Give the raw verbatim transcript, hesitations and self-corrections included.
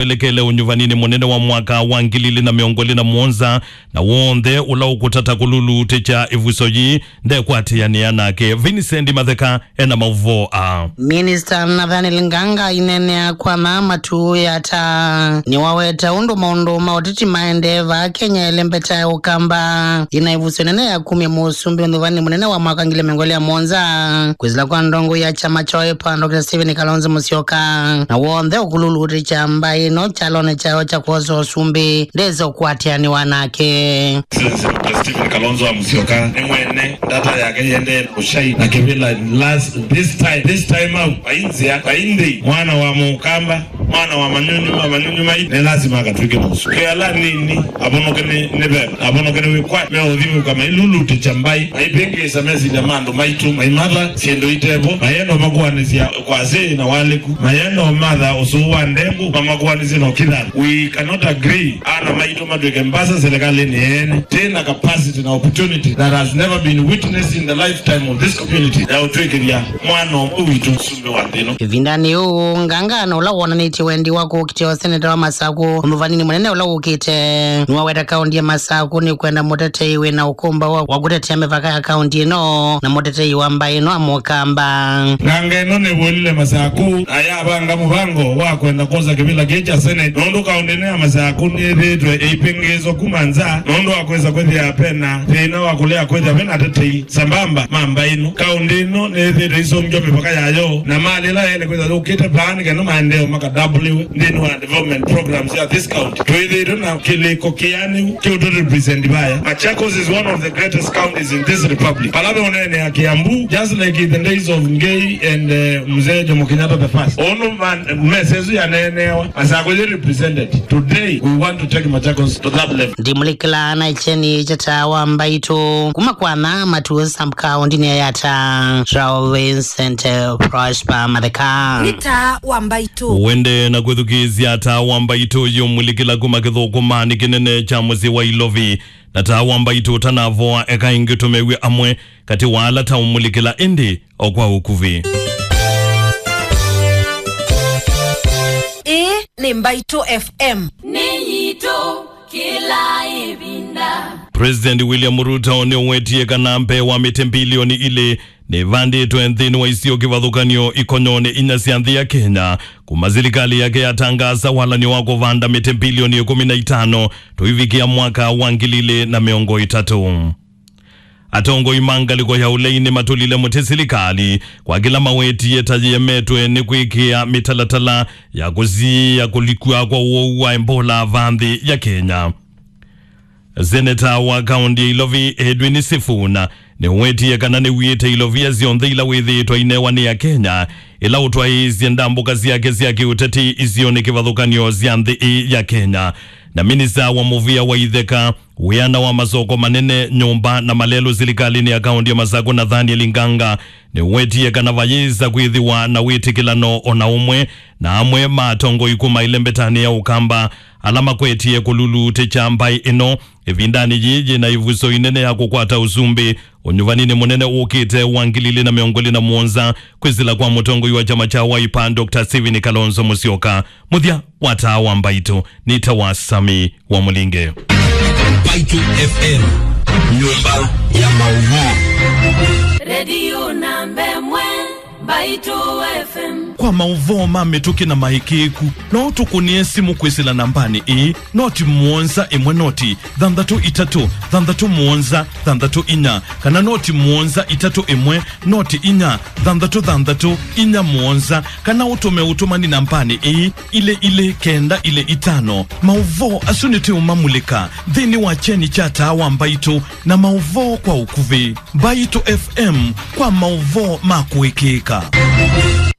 elekele ũnyuvaninĩ mũnene wa mwaka wa ngili ilĩ na mĩongo ĩlĩ na mũonza, na w'onthe ũla ũkũtata kũlulutĩkya ĩvuso yĩĩ ndekwatĩanĩa nake. Vincent Matheka ena maũvoo aa. Minista Nathaniel Nganga aineenea kwa maa matuũ ya ata nĩwaweta ũndũ maũndũ ma ũteti maendee vaa Kenya ĩlembeta ya Ũkamba. Yĩna ĩvuso nene ya kumya mũsumbĩ ũnyuvaninĩ mũnene wa mwaka ngili mĩongo ĩlĩ na mũonza kwĩsĩla kwa ndongoi ya kyama kya Wiper, Doctor Stephen Kalonzo Musyoka, na w'onthe ũkũlulutĩkya mbaĩ ĩno kyalonĩ kyayo kya kwosa ũsumbĩ ndesa ũkwatĩanĩwa nake. Excellency Doctor Stephen Kalonzo wa Musyoka nĩ mwene ndata yake yendee na ũshai na kĩvĩla last, this time, this time out, vai nzĩa, vai nthĩ, mwana wa Mũkamba, mwana wa manyunyu ma manyunyu mai, nĩ lazima akatw'ĩke mũsu. Kĩala nini, avonoke nĩ, nĩ veva, avonoke nĩ wĩkwatyo, meũthimũka mailulutĩkya mbaĩ, maipĩngĩĩsa mesilya ma andũ maitũ, maimatha syĩndũ itevo, mayenda makuanĩsya kwa asĩĩ na walĩku, mayenda matha ũsũũ wa ndengũ, mamakuanĩsye na ũkithana. We cannot agree ana maitũ matw'ĩke mbasa serikalinĩ yeene. Twĩ na capacity na opportunity that has never been witnessed in the lifetime of this community ya ũtw'ĩkĩthya mwana ũmwe witũ mũsumbĩ wa nthĩ ĩno. Ĩvindanĩ yĩu, Nganga na ũla wonanĩtye wendi wa kũkitĩa ũseneta wa Masaku ũnyuvaninĩ mũnene ũla ũkĩte, nĩwaweta kaũndi ya Masaku nĩkwenda mũtetei wĩ na ũkũmbaũ wa, wa kũtetea mĩvaka ya kaũndi ĩno na mũtetei wa mbaĩ ĩno a Mũkamba. Nganga ĩno nĩvũlile Masaku na yavanga mũvango wa kwenda kwosa kĩvĩla kĩĩ kya Senate, nũndũ kaũndi ĩno ya Masaku nĩyĩthĩĩtwe ĩipĩngĩĩswa kuma nza nũndũ wa kwĩsa kwĩthĩa vena thĩna wa kũlea kwĩthĩa vena atetei sambamba ma mbaĩ ĩno. Kaũndi ĩno nĩyĩthĩĩtwe ĩisũngĩwa mĩvaka yayo, na malĩ ĩla yaĩle kwĩthwa yũkĩte vaa nĩ kana maendeeo makadambũlĩwe nthĩnĩ wa development programs ya this county. Twĩthĩĩtwe na kĩlĩko kĩanĩu kĩũtũ represent vaya. Machakos is one of the greatest counties in this republic. Vala ve ũneenea Kiambu, just like in the days of Ngei and, uh, Mzee Jomo Kenyatta the first. Ũnũ man, mesa ĩsu yaneenewa, Masaku yĩ represented. Today, we want to take Machakos to that level. Ndimũlikĩla na kyeni kya Taa wa Mbaitũ kuma kwa na matuũ sub kaũndinĩ ya Yatta. Rao Vincent, eh, Prosper Matheka. Nĩ Taa wa Mbaitũ. Wende na kwĩthukĩĩsya Taa wa Mbaitũ yũmũlikĩla kuma kĩthũkũmanĩ kĩnene kya mũsyĩ wa Ilovi. Na Taa wa Mbaitũ ũtanavoa, eka ĩngĩ tũmew'e amwe katĩ wa ala taũmũlikĩla ĩndĩ o kwa ũkuvĩ. Ĩĩ nĩ Mbaitũ F M. Nĩ yitũ kĩla ĩvinda. President William Ruto nĩũwetie kana mbee wa mĩtĩ mbilioni ilĩ nĩvandĩtwe nthĩnĩ wa isio kĩvathũkany'o ikonyonĩ inya sya nthĩ ya Kenya, kuma silikalĩ yake yatangaasa walany'o wa kũvanda mĩtĩ mbilioni ĩkũmi na itano tũivikĩa mwaka wa ngili ilĩ na mĩongo ĩtatũ. Atongoi ma ngalĩko ya ũlei nĩmatũlile mũtĩ silikalĩ kwa kĩla mawetie ta yĩemetwe nĩ kwĩkĩa mĩtalatala ya kũsiĩĩa kũlikw'a kwa ũwau wa Ebola vaa nthĩ ya Kenya. Seneta wa kaũndi ya Ilovi, Edwin Sifuna, nĩwetie kana nĩw'ĩte ilovia syonthe ila wĩthĩĩtwe ainewa nĩ Akenya, ĩla ũtwaĩĩsye ndambũka syake sya kĩũteti isionĩ kĩvathũkany'o sya nthĩ ĩĩ ya Kenya. Na minista wa mũvĩa wa itheka, wĩana wa masoko manene, nyũmba na malelũ silikalĩnĩ ya kaũndi ya Masaku, Nathaniel Nganga, nĩwetie kana vayĩsa kwĩthĩwa na wĩtĩkĩlano o na ũmwe na amwe ma atongoi kuma ĩlembetanĩ ya Ũkamba ala makwetie kũlulutĩkya mbaĩ ĩno ĩvindanĩ yĩĩ yĩna ĩvuso inene ya kũkwata ũsumbĩ ũnyuvaninĩ mũnene ũkĩte wa ngili ilĩ na mĩongo ĩlĩ na mũonza, kwĩsĩla kwa mũtongoi wa kyama kya Wiper, Doctor Stephen Kalonzo Musyoka. Mũthya wa Taa wa Mbaitũ nĩ ta wa Sami wa Mũlinge. Mbaitũ F M, nyũmba ya maũvoo. Redio namba ĩmwe, Mbaitũ F M. Kwa maũvoo ma mĩtũkĩ na maĩkĩĩku, no ũtũkũnĩe simũ kwĩsĩla nambanĩ ĩĩ, noti mũonza ĩmwe noti thanthatũ itatũ thanthatũ mũonza thanthatũ inya, kana noti mũonza itatũ ĩmwe noti inya thanthatũ thanthatũ inya mũonza, kana ũtũme ũtũmani nambanĩ ĩĩ, ilĩ ilĩ kenda ilĩ itano. Maũvoo asu nĩtũũmamulĩka nthĩnĩ wa kyeni kya Taa wa Mbaitũ na maũvoo kwa ũkuvĩ. Mbaitũ F M kwa maũvoo ma kũĩkĩĩka.